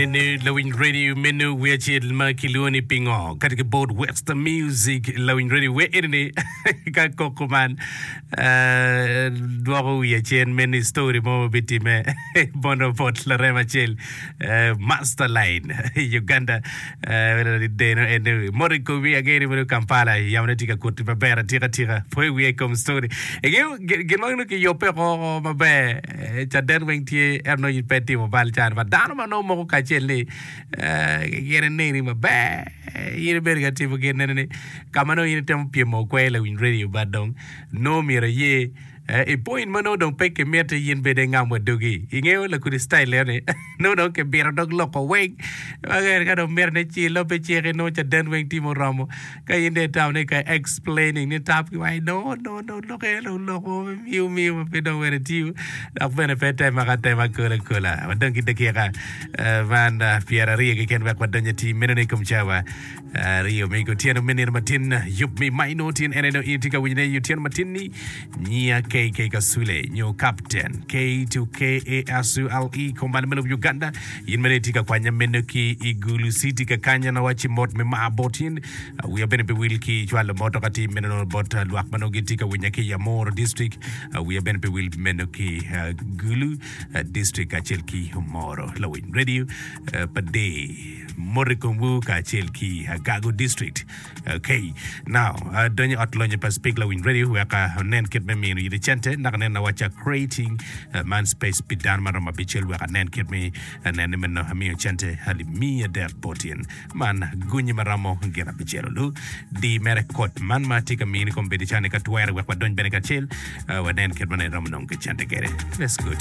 Ni lawiny radio meno wi acel ma kilwongo ni pingo kati ki bot West Music lawiny radio we eni ni ka koko man eh, dwoko wiya cen meno i story mo ma bitimme bono bot larem acel eh, Master Line i Uganda eh, deno en moto i komi angeni mono Kampala yamo ne tye ka kuti maber atika tika po i wiya i kom story ingeyo gin ma nongo kiyubbe oko maber Eh, caden weng tye ento nongo in pe itimo bal cani ma dano ma nongo moko kacel ni eh, gin ineni maber eh, in ibedo ka timo gin nene ni ka ma nongo in itemo pyemo okwer lawiny radio but dong nongo myero iye eh, i point ma nongo dong pe kimiti in bene ingam wa dogi ingeyo lakudi style eno ni nongo dong kibito dog loko weng ma ka dong mito ni ci lobe ciki nongo caden weng tye muromo Ka in dong itamo ni ka explaining ni tap ki waci no no no lok eno dong lok mo me miu miu ma pe dong wene tiyo dok bene pe tema ka tema kola kola. Wadong ki dakika eh, man eh, pyeraryo keken wek wadony ati meno ni kom cawa aryo me otyeno me nino matin yub mi ma inongo tin en eno in itye ka winyone i otyeno matin ni nyiya KK Kasule nyo Captain K to K A S U L E kombane me lobo Uganda In mere itye ka kwanya meno ki i Gulu City kakanya na wacci mot me mar bot in. Wiya bene pe wil ki cwalo mot ka tim meno bot lwak ma nongo gitye ka winya ki i Amoro District. Wiya bene pe wil meno ki Gulu District kacel ki Omoro. Lawiny Radio pa Day mot i komwu kacel ki Agago District. Okay, now adonyo i ot lonyo pa Speak Lawiny Radio wek anen kit me mino yite cente dok anen awacca creating man space pi dano ma romo abicel wek anen kit me nene meno amiyo cente alip miya adek bot in man gunyi ma romo gin abicel olu di mere kod man ma atye ka mini kombeddi cani ka twere wek wadony bene kacel wanen kit ma ne romo nongo ki cente kede. Let's go.